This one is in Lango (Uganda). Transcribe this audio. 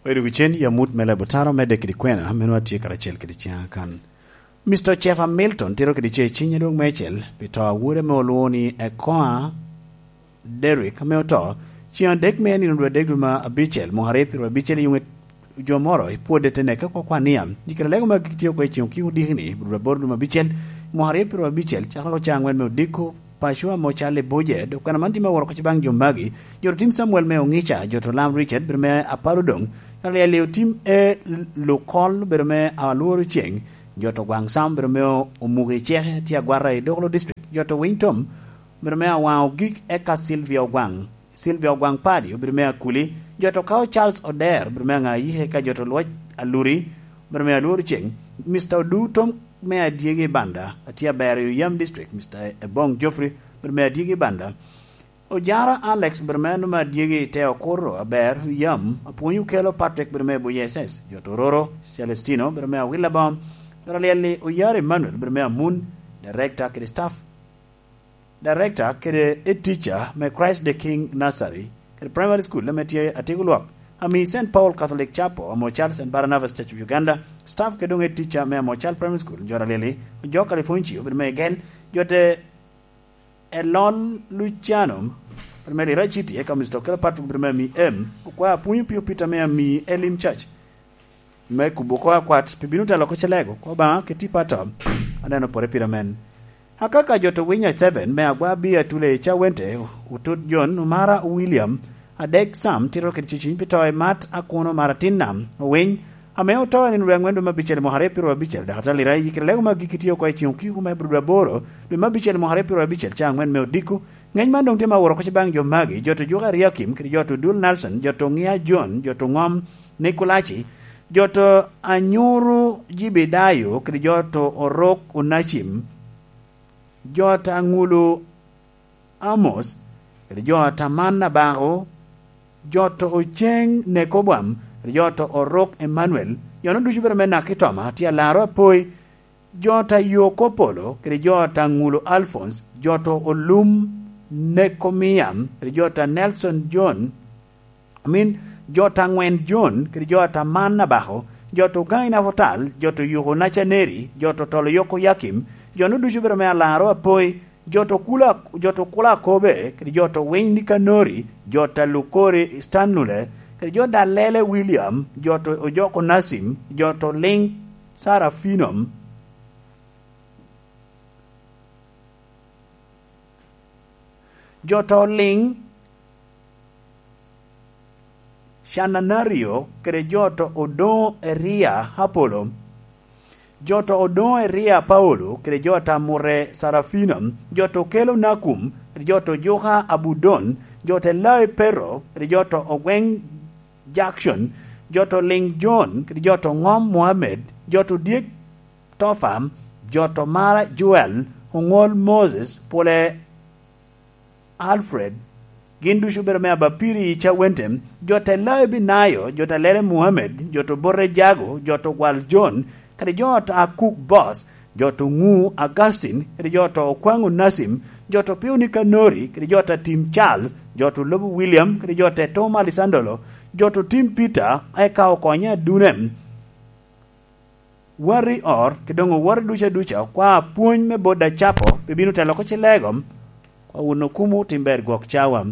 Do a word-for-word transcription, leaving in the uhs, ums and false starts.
Obedo wi cen i amut me Labotaro, medde kede kwena, meno atye karacel kede ciŋa kan. Mister Jeff Hamilton tito kede ce ciny adwoŋ meicel pi to a wode ame olwoŋo ni Ekoa Derrick, ame oto ciŋ adek me nino dwe adek dwe ma abicel, mwaka aryo pyero abicel, i yuŋe jo moro i pwodde te neke oko kwan nia. I kare lego ma gik tye oko i ciŋ okiko diki ni, dwe aboro dwe ma abicel, mwaka aryo pyero abicel, cakere oko caŋ aŋwen me odiko, paco ame ocal i Buje, dok kwena man tye me woro oko baŋ jo magi, jo otim Samuel me Oŋica, jo to Lam Richard, bedo me apar odoŋ, jo to Lyel otim e Lukol, bedo me alworo ceŋ, jo to Gwaŋ Sam, bedo me Omuki Ceke, tye agwata i Dokolo District, jo to Winy Tom, bedo me Awaŋ Ogik, eka Sylvia Ogwaŋ, Sylvia Ogwaŋ Padi, obedo me Akuli, jo to Kao Charles Oder, obedo me Aŋayike, eka jo to Lwoc Aluri, obedo me Alworo Ceŋ, Mister Odu Tom me Adyegi Banda, atye aber i Oyam District, Mister Ebong Geoffrey, obedo me Adyegi Banda, Ojara Alex, obedo me Anuma Adyegi i Te Okoro, aber, Oyam, Apwony Okelo Patrick, obedo me Buye S S, jo to Roro, Celestino, obedo me Awila Bom, jo to Lyel-li, Oyar Emmanuel, obedo me Amun, Director kede Staff, Director kede Head Teacher me Christ the King Nursery kede Primary School, ame tye Atiko Lwak, ami Saint Paul Catholic Chapel, ame ocal Saint Barnabas Church of Uganda, Staff kede doŋ Head Teacher me ame ocal Primary School, jo to Lyel-li, Ojok Califoncio, obedo me Egel, jo te Elon Luciano, obedo me Lira City, eka Mister Okelo Patrick, obedo me ami M, okwao Apwony Opio Peter me ami Elim Church, me kubo oko akwat, pi bino telo oko Celego, kwa Obaŋa, keti pato, aneno pore pire men. Akaka jo to Winya seven, me Agwa Bi Atule i Cawente, Otut John, Omara William, Adek Sam, tito kede ceciny pi to i Mat Akuno Maratin Nam, Owiny, ame oto i nino dwe aŋwen dwe me abicel mwaka aryo pyero abicel, dok atalira i kite lego ma giki tye oko i ciŋ okiko me dwe aboro, dwe me abicel mwaka aryo pyero abicel, ca aŋwen me odiko. Ngeny man doŋ tye ma woro oko baŋ jo magi, jo to Juka Eriakim, kede jo to Dul Nelson, jo to Ŋia John, jo to Ŋom Nikolaci, jo to Anyuru Jibedayo, kede jo to Orok Onacim, jo to Aŋulu Amos, kede jo to Aman Abako, jo to Oceŋ Nekobwam, kede jo to Orok Emmanuel, jo-nu ducu bedo me Nakitoma, tye alaro apoi, jo ta Yoko Polo, kede jo ta Ŋulo Alphonse, jo to Olum Nekomiam, kede jo ta Nelson John, I mean, jo ta Ŋwen John, kede jo ta Man Abako, jo to Gaŋi Nafotal, jo to Yuko Nacaneri, jo to Tolo Yoko Yakim, jo-nu ducu bedo me Alaro Apoi, jo to Kula, jo to Kula Akobe, kede jo to Winy Nikanori, jo ta Lukori Stanlule, kede jo ta Lele William, jo to Ojoko Nasim, jo to Liŋ Sarafinom, jo to Liŋ Cananario, kede jo to Odoŋo Eria Apolo, jo to Odoŋo Eria Paolo, kede jo ta Mure Sarafino, jo to Kelo Nakum, kede jo to Juka Abudon, jo te Lawi Pero, kede jo to Ogweŋ Jackson, jo to Liŋ John, kede jo to Ŋom Mohammed, jo to Dyek Tofam, jo to Mara Joel, Oŋol Moses, Pole Alfred, gin ducu obedo me Abapiri i Cawente, jo te Lawi Binayo, jo te Lele Muhammed, jo to Bote Jago, jo to Gwal John, kadi jo to Akuk Bos, jo to Ŋu Augustin, kadi jo to Okwaŋ Onasim, jo to Piu Nikanori, kadi jo to Tim Charles, jo to Lobo William, kadi jo te Tom Alisandolo, jo to Tim Peter, eka okonye adunem. Wari or, kede doŋ oworo ducu aduca, kwa pwony me bot acapo, pi bino telo oko cilego, kwa wun okumo tim ber gwok cawa.